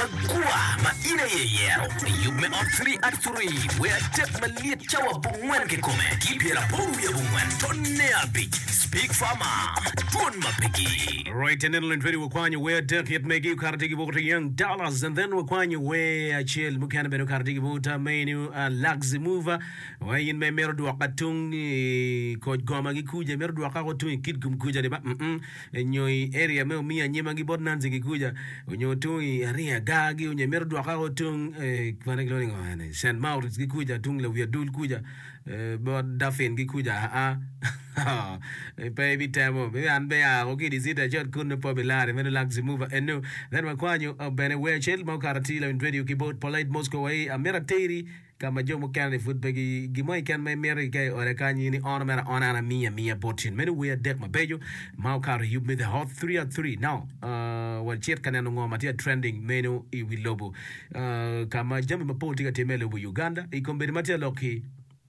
Magwar ma in aye iyero. Yub me Hot Three at Three, wer adek malyet cawa abongwen kikome ki pyeraboro wiye abongwen tonne abic. Speak Farmer, Dwon ma pegi. Right, and then ready wakwanyo wer adek it megi okato tye ki bot Young Dollars and then wakwanyo wer acel mukene bene okato tye ki bot menu Luxy Mover wa in ma imito dwoka tung i koc goma gi kuca imito dwoka ko tung i Kitgum kuca ni ba mm nyo i area me omiyo anyima gi bot Nancy ki kuca onyo tung i Aria gar gi onyo imito dwoka ko tung kwane kilwongo ni ngo eni Cent Maurice gi kuca tung lawi adul kuca bot Daffin ki kuca aa pe ibitemo an be aa ko ki i city acot kunu pe obilari meno Luxy Mover enu then wakwanyo bene wer acel ma okato atir lawiny radio ki bot Polite Moscow wa i amito ateri Ka ma jo mukene-ni pud pe gi, gin mo keken ma imito ki ka i oda kany, in iono mere aona, an amiyi amiya bot in. Meno wer adek mabeco ma okato i yub me The Hot Three at Three. Now, uh, wacit ka neno ngo ma tye ka trending meno i wi lobo, uh, ka ma jami mapol tye ka timme i lobo Uganda. I kombeddi ma tye ka lok-ki,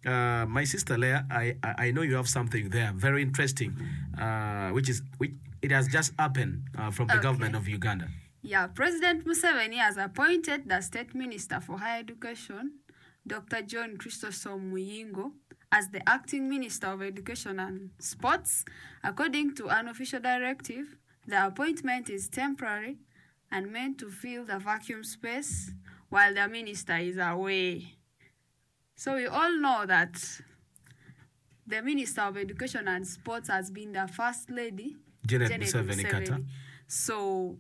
uh, my sister Leah, I, I, I know you have something there very interesting, uh, which is, which it has just happened, uh, from the government Okay. of Uganda. Yeah, President Museveni has appointed the State Minister for Higher Education, Dokita John Chrysostom Muyingo, as the acting Minister of Education and Sports. According to an official directive, the appointment is temporary and meant to fill the vacuum space while the minister is away. So we all know that the Minister of Education and Sports has been the First Lady, Janet Janet Museveni Kata. Museveni. So.